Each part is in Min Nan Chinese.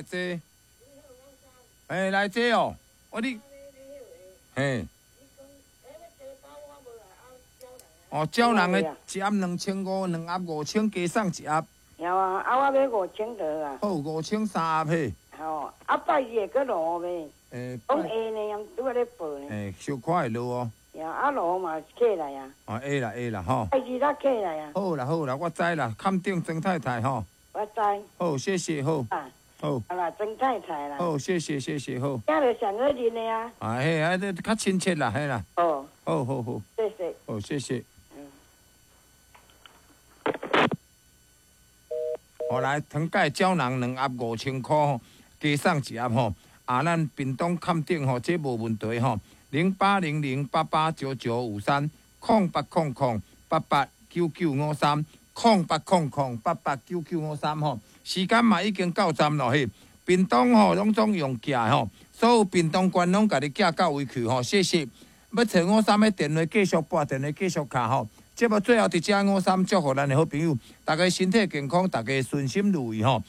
坐。嘿，來坐哦。我你，嘿。哦，招人的一盒2500，兩盒5000，加送一盒。有啊，啊我買5000就好啊。好，5000三盒嘿。吼，啊拜二會閣落雨袂？講會呢，拄仔咧報呢。欸，小可會落哦。呀，啊落雨嘛是起來啊。哦，會啦會啦吼。拜二才起來啊。好啦好啦，我知啦，崁頂曾太太吼。我知。好，謝謝好。啊。好。好啦，曾太太啦。好，謝謝謝謝好。聽著上好認的啊。啊嘿，啊這較親切啦，嘿啦。哦。好好好。謝謝。好，謝謝。好來，糖果膠囊兩盒5000箍吼，加送一盒吼。啊，咱屏東崁頂吼，這無問題吼。0800889953，0800889953，0800889953吼。時間嘛已經到站咯嘿。屏東吼攏總用寄吼，所有屏東縣攏共你寄到位去吼。謝謝。欲揣五三的電話繼續撥，電話繼續敲吼。節目最後佇遮五三祝福咱的好朋友，大家身體健康，大家順心如意吼。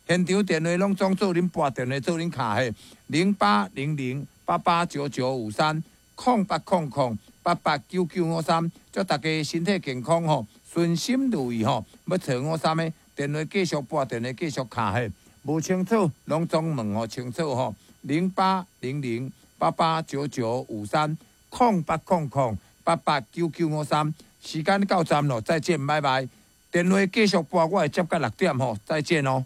現場電話攏總做恁撥電話做恁敲嘿，0800889953，0800889953，祝大家身體健康吼，順心如意吼。欲揣五三的電話繼續撥，電話繼續敲嘿，無清楚攏總問予清楚吼，0800889953，0800889953。時間到站咯，再見，拜拜。電話繼續撥，我會接到6點吼，再見哦。